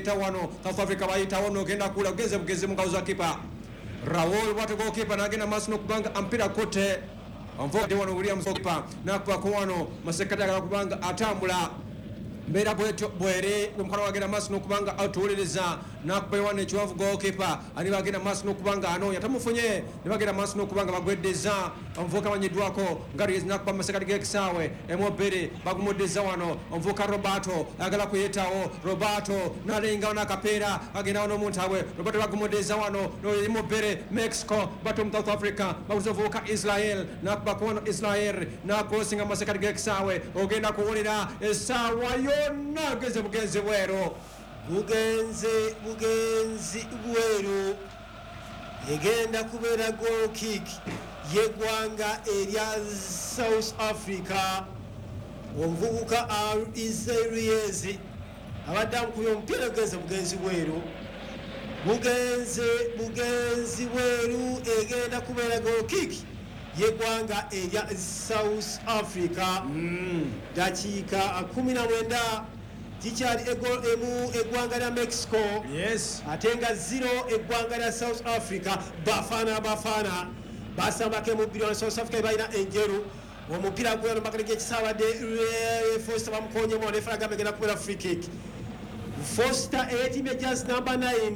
Bayita wano South Africa, bayitawo nogenda kula ugenze bugezi mu ngalo za kipa Raul bwate goalkeeper nagenda maaso n'okubanga ampira kote onvode wano Williams goalkeeper nakubako wano masekati agala kubanga atambula mbeera bwetyo bwere omukono wagenda maaso n'okubanga atuwuliriza nakuba wano ekiwanvu goalkeeper ani bagenda maaso n'okubanga anoonya tamufunye ne bagenda maaso n'okubanga bagweddeza omuvubuka amanyiddwako nga Reyes nakuba masekati g'ekisaawe emu 2 bagumuddeza wano omuvubuka Roberto ayagala kuyitawo. Roberto nalingawo n'akapiira agendawo n'omuntabwe. Roberto bagumuddeza wano emu 2 Mexico bato mu South Africa baguza omuvubuka Israel nakubako wano. Israel nakrosinga masekati g'ekisaawe, ogenda kuwulira essaawa yonna geze bugenzi bweru. Bugenze bugenzi bweru, egenda kubeera goal kick yeggwanga erya South Africa. Omuvubuka Israeliez abadde amukubye omupiira, gugenze bugenzi bweru, bugenze bugenzi bweru, egenda kubeera goal kick yeggwanga erya South Africa. Dakiika 19 kikyali egol 1 eggwanga lya Mexico ate nga 0 eggwanga lya South Africa. Bafana Bafana basambako emu 2. South Africa balina enjeru. Omupiira gweno makati gekisabadde Foster bamukonyemu. Refa agamba egenda kubeera free kick. Foster eyetimye jersey number 9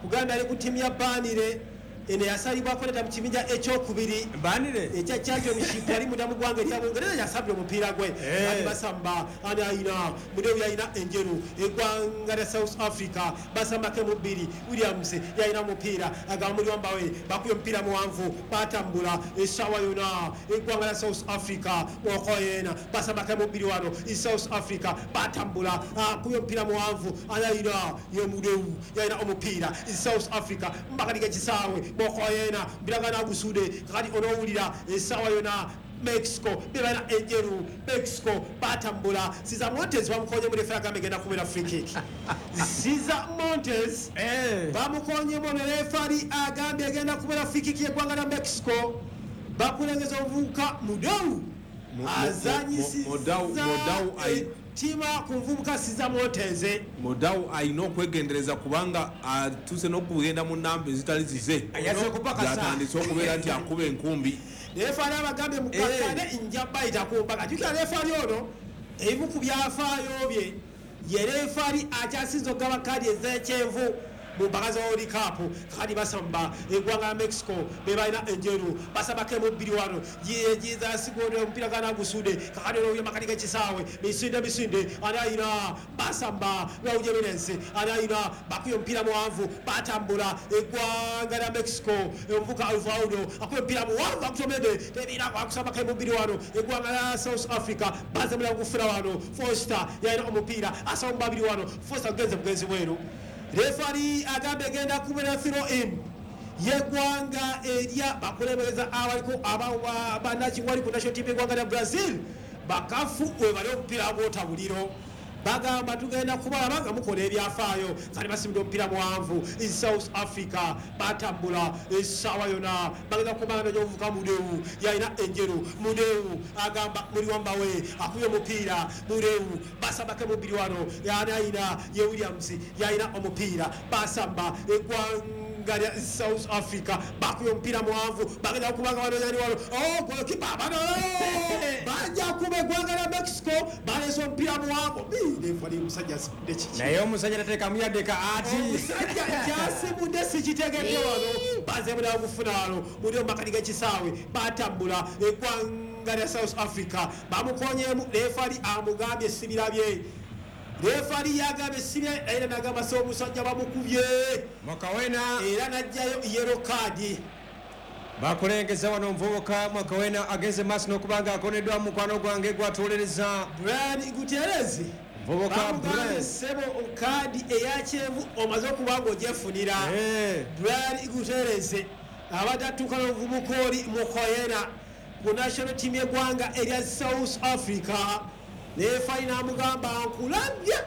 kugambye ali ku ttiimu ya Burnley eno yasalibwako neta mu kibinja ekyokubiri Burnley ekya Championship. Yali munda mu ggwanga erya Bungereza, yasabye omupiira gwe. Ali basamba ani ayina Mudewu yalina enjeru. Eggwanga lya South Africa basambako emu 2. Williams yalina omupiira, agamba muli wambawe bakubye omupiira muwanvu, batambula essaawa yona eggwanga lya South Africa. Okoyena basambako emu 2 wano e South Africa batambula, akubye omupiira muwanvu, ani ayina ye Mudewu yalina omupiira e South Africa mbakaliga ekisaawe. Mokoyena biragana gusude kakati onowulira essaawa yona Mexico bebalina enjeru. Mexico batambula. Siza Montes bamukonye mu, refa agamba egenda kubeera free kick. Siza Montes bamukonyemu, ne refari agambye egenda kubeera free kick yeggwanga lya Mexico. Bakulengeza omuvubuka Mudau azanyisiza Mudau ettima ku muvubuka Siza Montes. Mudawu alina okwegendereza kubanga atuuse n'okugenda mu namba ezitali zize. Yazze kupakasa. Yatandise okubeera nti akuba enkumbi. Refaali abagambye mukakane, nja bayita ku mpaka. Jukira refaali ono ebimu ku byafaayo bye ye refaali akyasinza okugaba kaadi ez'ekyenvu mu mpaka za World Cup. Kati basamba eggwanga la Mexico be balina enjeru, basambako emu 2 wano jizasigode omupiira gana gusude kakati ono makati g'ekisaawe misinde misinde ani ayina basamba lawujeminensi ani ayina bakubye omupiira muwanvu, batambula eggwanga lya Mexico. Omuvuka Alvaudo akubye omupiira muwanvu akutomede tebira akusambako emu 2 wano eggwanga lya South Africa bazemula gufuna wano. Foster yalina omupiira asaba mu babiri wano. Foster genze bugenzi bweru. Refari agambye egenda kubeera throw in yeggwanga erya bakulembeza abaliko banakiwali ku national team yeggwanga lya Brazil bakafu webali omupiira gwotabuliro bagamba tugenda kubalaba nga mukola ebyafaayo. Kati basimudde omupiira muwanvu e South Africa batambula essaawa yona bagenda kubanga gyovuka. Mudewu yalina enjeru. Mudewu agamba muli wambawe akubye omupiira Mudewu basambako emu 2 wano. Yani ayina ye Williams yalina omupiira basamba eggwanga lya South Africa bakubye omupiira muwanvu bagenda kubanga wano yani wano oh goalkeeper bano bajja kuba eggwanga lya Mexico balese omupiira muwanvu. Refali omusajja asimudde kiki? Naye omusajja tateekamu yadde ka ati. Omusajja kyasimudde sikitegedde. Wano bazemula gufuna wano muli omumakati g'ekisaawe batambula eggwanga lya South Africa bamukonyemu. Refali amugambye sibirabye. Refali yagambye sibye era nagamba se omusajja bamukubye. Mwakawena era najjayo yellow card. Bakulengeza wano omuvubuka Mwakawena agenze maaso n'okubanga akoneddwa mukwano gwange gwatuwuliriza. Brian Gutierrez. Muvubuka bamugambye Brian. Sebo kaadi eyakyenvu omaze okuba nga ogyefunira. Brian Gutierrez abadde atuuka n'omuvubuka oli Mukoyena ku national team yeggwanga erya South Africa. Refali n'amugamba nkulabye.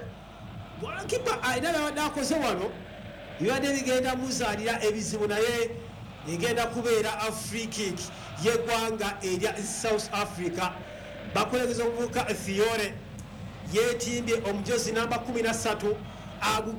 Golikipa alina byabadde akoze wano bibadde bigenda muzaalira ebizibu, naye egenda kubeera free kick yeggwanga erya South Africa. Bakulengeza omuvubuka Fiore yetimbye omujozi namba 13 aguga.